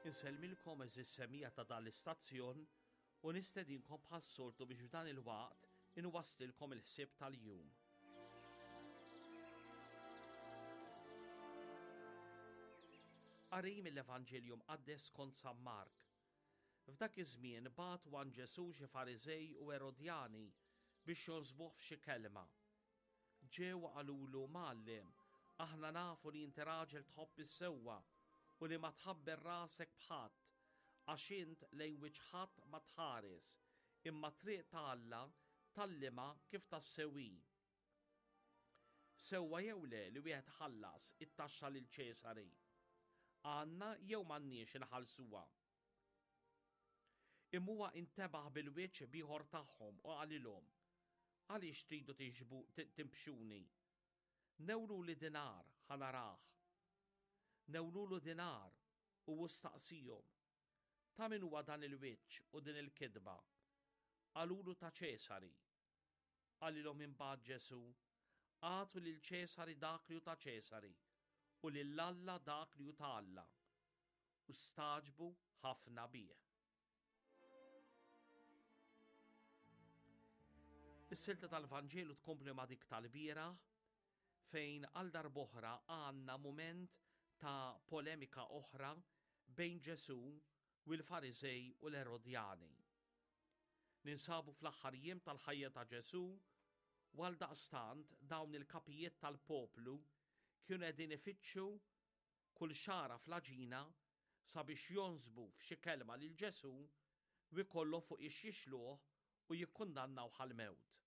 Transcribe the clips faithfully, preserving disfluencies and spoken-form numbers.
Insellmilkom għeżież semmiegħa ta' dan l-istazzjon u nistedinkom bħas-soltu biex f'dan il-waqt inwasslilkom il-ħsieb tal-jum. Qari mill-Evanġelju Mqaddes skont San Mark. F'dak iż-żmien bagħtu għand Ġesù xi Fariżej u Erodjani biex jonsbuh f'xi kelma. Ġew u qalulu, Mgħallem, aħna nafu li inti raġel tħobb is-sewwa u li ma tħabber rasek b'ħadd, għax int lejn wiċċ ħadd ma tħares, imma triq ta' Alla tgħallimha kif tassew hi. Sewwa jew le li wieħed iħallas it-taxxa lil Ċesari? Għandna jew m'għandniex inħallsuha? Imma huwa intebaħ bil-wiċċ b'ieħor tagħhom u qalilhom, Għaliex tridu timbxuni? Newluli dinar ħa narah. Newlulu dinar u hu staqsihom, Ta' min huwa dan il-wiċċ u din il-kitba? Qalulu ta' Ċesari. Qalilhom imbagħad Ġesù, Agħtu lil Ċesari dak li hu ta' Ċesari, u lil Alla dak li hu ta' Alla. U stagħġbu ħafna bih. Is-silta tal-Vanġelu tkompli ma' dik tal-bieraħ fejn għal darb'oħra għandna mument ta' polemika oħra bejn Ġesù u l-Fariżej u l-Erodjani. Ninsabu fl-aħħar jiem tal-ħajja ta' Ġesù u għaldaqstant dawn il-kapijiet tal-poplu kienu qegħdin ifittxu kull xagħra fl-għaġina sabiex jonsbu f'xi kelma lil Ġesù u jkollhom fuq ix jixluh u jikkundannawh għall-mewt.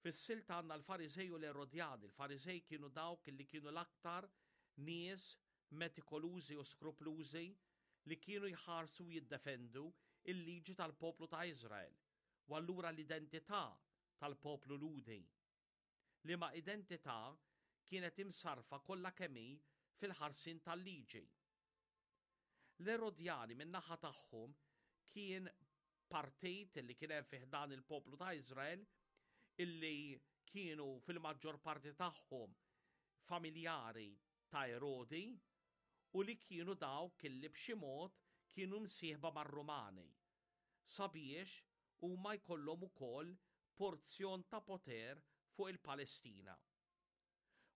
Fis-silta għandna l-Fariżej u l-Erodjani. Il-Fariżej kienu dawk li kienu l-aktar nies metikolużi u skruplużi li kienu jħarsu u jiddefendu l-liġi tal-poplu ta' Iżrael u allura l-identità tal-poplu Lhudi, liema identità kienet imsarrfa kollha kemm hi fil-ħarsien tal-liġi. L-Erodjani min-naħa tagħhom kien partit li kien hemm fi ħdan il-poplu ta' Iżrael illi kienu fil-maġġor parti tagħhom familjari ta' Erodi u li kienu dawk illi b'xi mod kienu msieħba mar-Rumani sabiex huma jkollhom ukoll porzjon ta' poter fuq il-Palestina.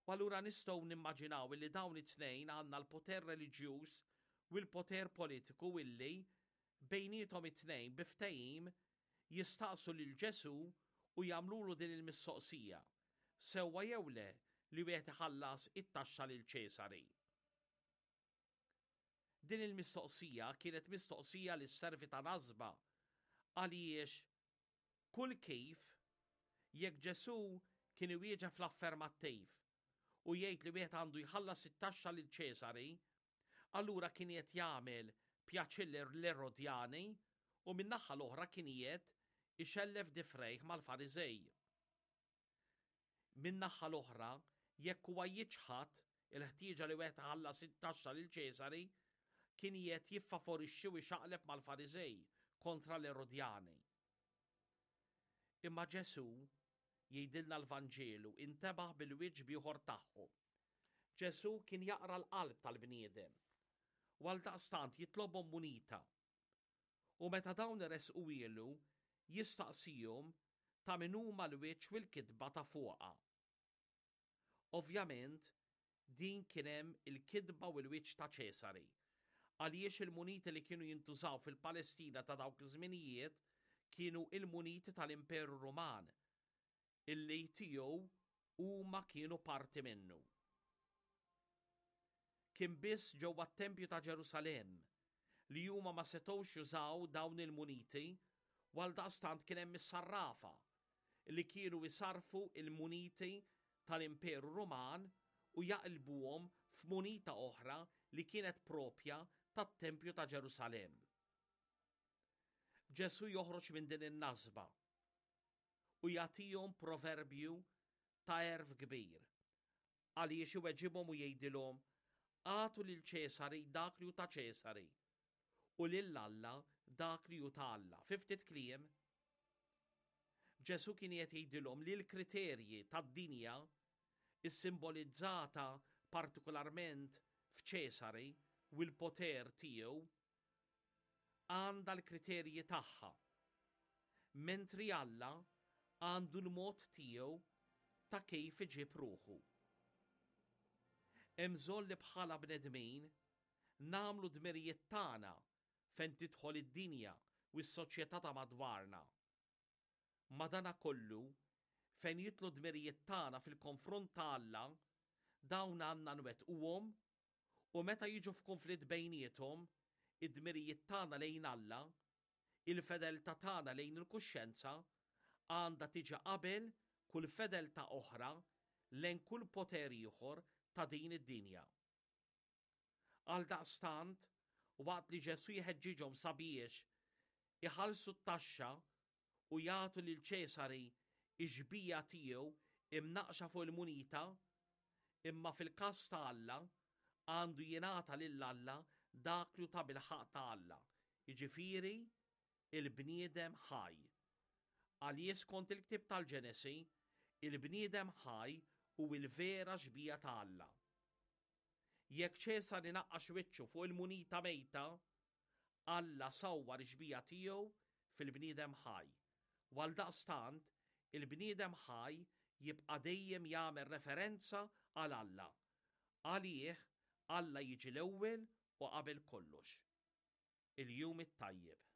U allura nistgħu nimmaġinaw illi dawn it-tnejn għandna l-poter reliġjuż u l-poter politiku illi bejniethom it-tnejn bi ftehim jistaqsu lil Ġesù u jagħmlulu din il-mistoqsija, Sewwa jew le li wieħed iħallas it-taxxa lil Ċesari? Din il-mistoqsija kienet mistoqsija li sservi ta' nasba għaliex kull kif jekk Ġesù kien iwieġeb fl-affermattiv u jgħid li wieħed għandu jħallas it-taxxa lil Ċesari, allura kien qed jagħmel pjaċir l-Erodjani u min-naħa l-oħra kien qiegħed ixellef difrejh mal-Fariżej. Min-naħa l-oħra, jekk huwa jiċħad il-ħtieġa li wieħed iħallas it-taxxa lil Ċesari, kien qiegħed jiffavorixxi u jxaqleb mal-Fariżej kontra l-Erodjani. Imma Ġesù, jgħidilna l-Vanġelu, intebaħ bil-wiċċ b'ieħor tagħhom. Ġesù kien jaqra l-qalb tal-bniedem u għaldaqstant jitlobhom munita. U meta dawn iressquhielu, jistaqsihom ta' min huma l-wiċċ u l-kitba ta' fuqha. Ovvjament, din kien hemm il-kitba u l-wiċċ ta' Ċesari, għaliex il-muniti li kienu jintużaw fil-Palestina ta' dawk iż-żminijiet kienu il-muniti tal-Imperu Ruman, illi tiegħu huma kienu parti minnu. Kien biss ġewwa t-Tempju ta' Ġerusalemm li huma ma setgħux jużaw dawn il-muniti u għaldaqstant kien hemm is-sarrafa li kienu jsarrfu l-muniti tal-Imperu Ruman u jaqilbuhom f'munita oħra li kienet proprja tat-Tempju ta' Ġerusalemm. Ġesù joħroġ minn din in-nasba u jagħtihom proverbju ta' għerf kbir għaliex iweġibhom u jgħidilhom, Agħtu lil Ċesari dak li hu ta' Ċesari u lil Alla dak li hu ta' Alla. Fi ftit kliem, Ġesù kien qed jgħidilhom li l-kriterji tad-dinja issimbolizzata partikolarment f'Ċesari u l-poter tiegħu għandha l-kriterji tagħha, mentri Alla għandu l-mod tiegħu ta' kif iġib ruħu. Hemm bżonn li bħala bnedmin nagħmlu dmirijiet tagħna fejn tidħol id-dinja u s-soċjetà ta' madwarna. Madanakollu, fejn jidħlu dmirijiet tagħna fil-konfront ta' Alla, dawn għandna nwettquhom u meta jiġu f'konflitt bejniethom, id-dmirijiet tagħna lejn Alla, il-fedeltà tagħna lejn il-kuxjenza għandha tiġi qabel kull fedeltà oħra lejn kull poter ieħor ta' din id-dinja. Għaldaqstant, waqt li Ġesù jħeġġiġhom sabiex iħallsu t-taxxa u jagħtu lil Ċesari x-xbieha tiegħu imnaqqxa fuq il-munita, imma fil-każ ta' Alla għandu jingħata lil Alla dak li hu tabilħaqq ta' Alla, jiġifieri il-bniedem ħaj. Għaliex skont il-ktieb tal-Ġenesi, il-bniedem ħaj hu l-vera xbieha ta' Alla. Jekk Ċesari naqqax wiċċu fuq il-munita mejta, Alla sawwar ix-xbieha tiegħu fil-bniedem ħaj. U għaldaqstant, il-bniedem ħaj jibqa' dejjem jagħmel referenza għal Alla. Għalih, Alla jiġi l-ewwel u qabel kollox. Il-jum it-tajjeb.